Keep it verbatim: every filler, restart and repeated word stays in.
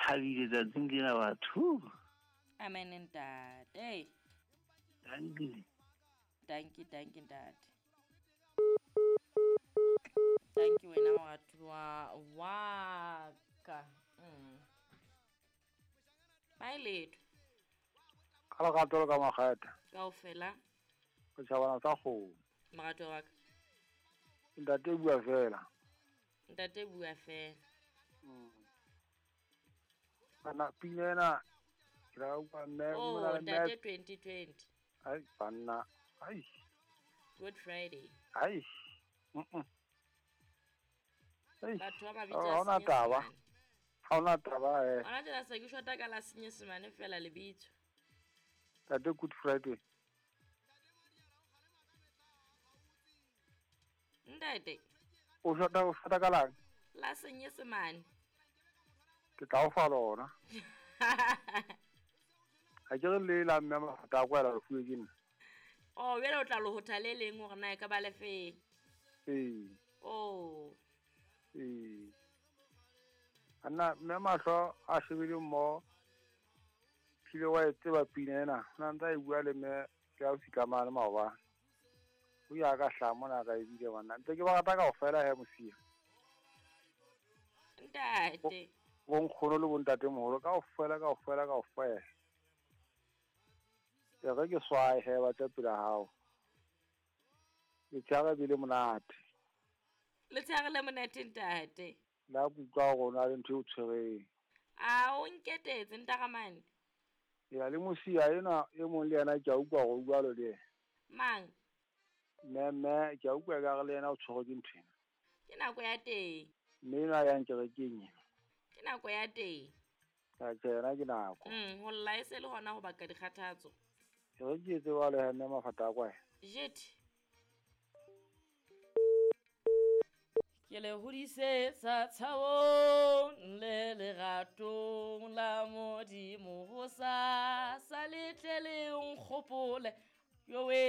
Thabile tsatsing lena batho. Amen ntate. Dankie. Dankie, dankie ntate. Dankie wena moratuwa wa ka. Mm. Bye letho. Ka lerato le ka makgetha. Kaofela. Setjhabana sa kgomo. Moratuwa wa ka. Ntate bua fela. Ntate bua fela. Mm. Bana pina ena ke la utlwa mme Oh, mona le mme ntate twenty twenty. Ai banna. Ai. Good Friday. Ai. Mm. Ai. Batho ba mabitso Ha a hona taba. Senyesemane. Ha hona taba eh. Hona tjena se ke shota ka la Senyesemane fela lebitso. Ntate Good Friday. Ntate. O shota o shota ka lang? La Senyesemane. Ke tla o fa lona. Ha ke re le la mme mafata a kwela re fuwe ke nna. Oh, jwale o tla lohotha le leng hore na e ka ba le feng? Ee. Oh. Ee. Anna mme mahlo a shebile mmoho. Hlile wa e tseba pina ena. Na ntse a e bua le mme ke a o sitlamane maobane. O ya ka hlaha mona ka ebile banna. Ntse ke ba rata kaofela he mosia. Ntate. Bo nkgono le bontatemoholo kaofela kaofela kaofela. E re ke swae he ba tla pela hao. Letshehare be le monate. Letshehare le monate ntate. La kutlwa hore o na le ntho e o tshwereng. A o nketetse ntaramane. Ya le mosia enwa e mong le yena ke a utlwa hore o jwalo le yena. Mang? Mme mme ke a utlwa ekare le yena o tshwerwe ke ntho ena. Ke nako ya teng. Mme enwa a yang kerekeng ena. Ke nako ya teng. Tjhe, yena ke nako. Mm, ho lla e se le hona ho baka dikgathatso. E re ke etse jwalo he mme mafata a kwae. Jethe. Ke le hodisetsa tshabong le leratong la Modimo ho sa sa le tle le nkgopole. Yo we.